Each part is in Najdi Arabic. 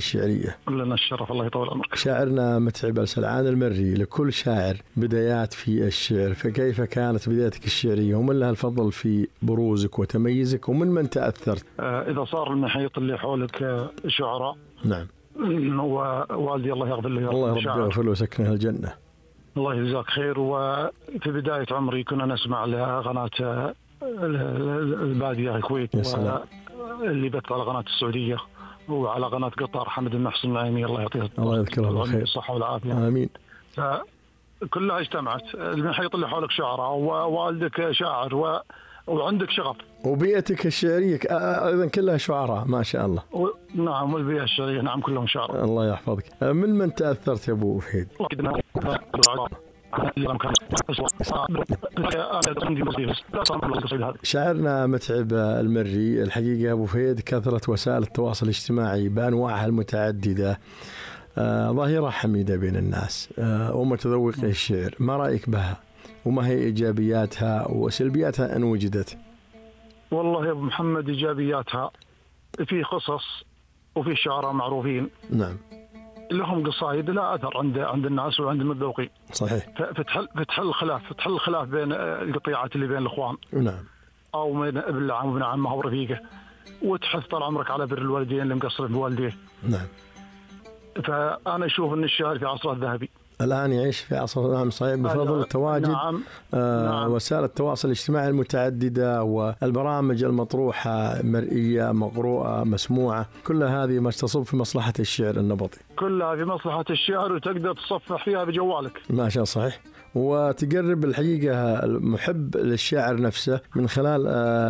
الشعرية. لنا الشرف، الله يطول عمرك. شاعرنا متعب السلعان المري، لكل شاعر بدايات في الشعر، فكيف كانت بدايتك الشعرية ومن لها الفضل في بروزك وتميزك ومن من تأثرت؟ إذا صار المحيط اللي حولك شعراء، نعم، ووالدي الله يغفر له، الله رب يغفر له ويسكنه الجنة. الله يجزاك خير. وفي بداية عمري كنا نسمع لقناة البادية الكويت، اللي بث على قناة السعودية وعلى قناة قطر حمد المحسن النعيمي، الله يعطيه الله يذكره بالخير، الصحة والعافية، آمين. كلها اجتمعت، المحيط اللي حولك شاعراء ووالدك شاعر وعندك شغف، وبيئتك الشعرية أيضا كلها شعراء ما شاء الله. نعم، والبيئة الشعرية نعم كلهم شعراء. الله يحفظك. من تأثرت يا أبو فهيد؟ شاعرنا متعب المري، الحقيقة أبو فهيد كثرة وسائل التواصل الاجتماعي بأنواعها المتعددة ظاهرة حميدة بين الناس ومتذوقي الشعر، ما رأيك بها وما هي إيجابياتها وسلبياتها إن وجدت؟ والله يا أبو محمد، إيجابياتها في قصص وفي شعراء معروفين، نعم، لهم قصائد لا أثر عند الناس وعند المتذوقين. صحيح. فتحل الخلاف بين القطيعات اللي بين الإخوان، نعم، أو بين ابن العم وابن عمه ورفيقه، وتحث طال عمرك على بر الوالدين اللي مقصرين بوالديه. نعم. فأنا أشوف أن الشاعر في عصره الذهبي الآن يعيش في عصر، نعم صحيح، بفضل تواجد نعم. وسائل التواصل الاجتماعي المتعددة والبرامج المطروحة مرئية مقروءة مسموعة، كل هذه ما تصب في مصلحة الشعر النبطي، كلها في مصلحة الشعر، وتقدر تصفح فيها بجوالك ما شاء. صحيح. وتقرب الحقيقة المحب للشاعر نفسه من خلال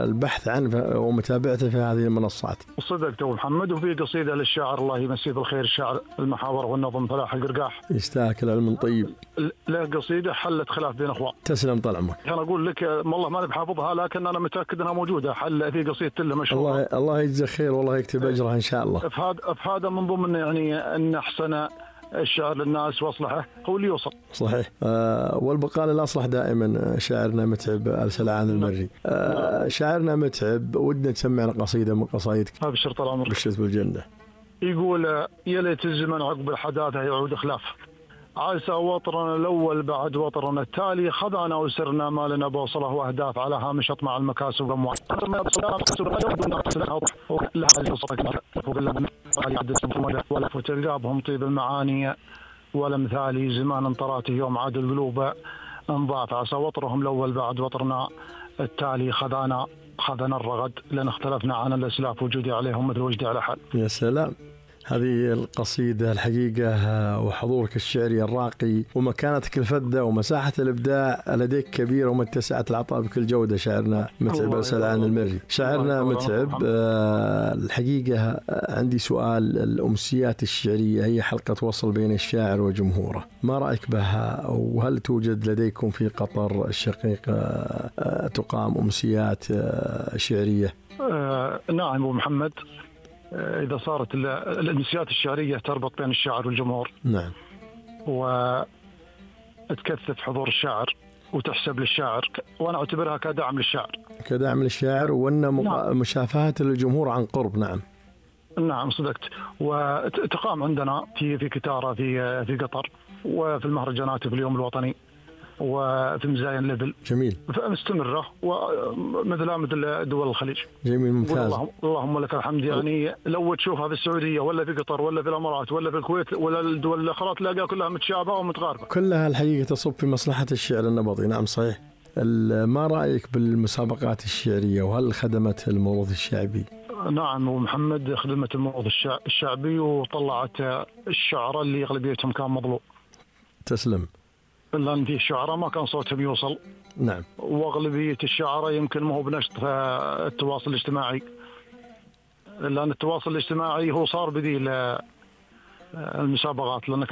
البحث عنه ومتابعته في هذه المنصات. صدقت أبو محمد. وفي قصيدة للشاعر الله يمسيه بالخير، الشاعر المحاور والنظم فلاح القرقاح، يستاهل العلم طيب، له قصيدة حلت خلاف بين أخوان. تسلم طال عمرك. أنا أقول لك والله ما بحافظها، لكن أنا متأكد أنها موجودة، حل في قصيدة له مشهورة. الله يجزاه خير والله يكتب أجرها إن شاء الله. هذا من ضمن يعني أن أحسن الشعر للناس واصلحه هو اللي يوصل. صحيح. والبقاء للأصلح دائما. شاعرنا متعب السلعان المري، شاعرنا متعب ودنا تسمعنا قصيدة من قصايدك. أبشر طال عمرك. بشرت بالجنة. يقول: يا ليت الزمن عقب الحداثة يعود خلاف، عسى وطرنا الأول بعد وطرنا التالي، خذانا وسرنا ما لنا بوصله وأهداف، على هامش أطمع المكاسب والأموال. وتلقابهم طيب المعاني والأمثال، زمان طراته يوم عاد القلوب انضاف، عسى وطرهم الأول بعد وطرنا التالي، خذانا الرغد لأن اختلفنا عن الأسلاف، وجودي عليهم مثل وجدي على حد. يا سلام، هذه القصيدة الحقيقة وحضورك الشعري الراقي ومكانتك الفذة ومساحة الإبداع لديك كبيرة ومتسعة العطاء بكل جودة. شاعرنا متعب السلعان المري. شاعرنا متعب، الحقيقة عندي سؤال. الأمسيات الشعرية هي حلقة وصل بين الشاعر وجمهوره، ما رأيك بها؟ وهل توجد لديكم في قطر الشقيقة تقام أمسيات شعرية؟ نعم أبو محمد، إذا صارت الأمسيات الشعرية تربط بين الشاعر والجمهور، نعم، وتكثف حضور الشاعر وتحسب للشاعر، وأنا أعتبرها كدعم للشاعر، وأن مشافهة للجمهور عن قرب. نعم صدقت. وتقام عندنا في كتارة في قطر، وفي المهرجانات في اليوم الوطني، وفي مزايا ليفل. جميل. مستمرة مثل دول الخليج. جميل، ممتاز. اللهم لك الحمد. يعني لو تشوفها في السعودية ولا في قطر ولا في الأمارات ولا في الكويت ولا الدول الأخرى، تلاقيها كلها متشابهة ومتقاربة، كلها الحقيقة تصب في مصلحة الشعر النبطي. نعم صحيح. ما رأيك بالمسابقات الشعرية وهل خدمت الموروث الشعبي؟ نعم ومحمد، خدمت الموروث الشعبي وطلعت الشعراء اللي أغلبيتهم كان مظلوم. تسلم. لأن في شعراء ما كان صوتهم يوصل. نعم. وأغلبية الشعراء يمكن ما هو بنشط التواصل الاجتماعي، لأن التواصل الاجتماعي هو صار بديل المسابقات، لأن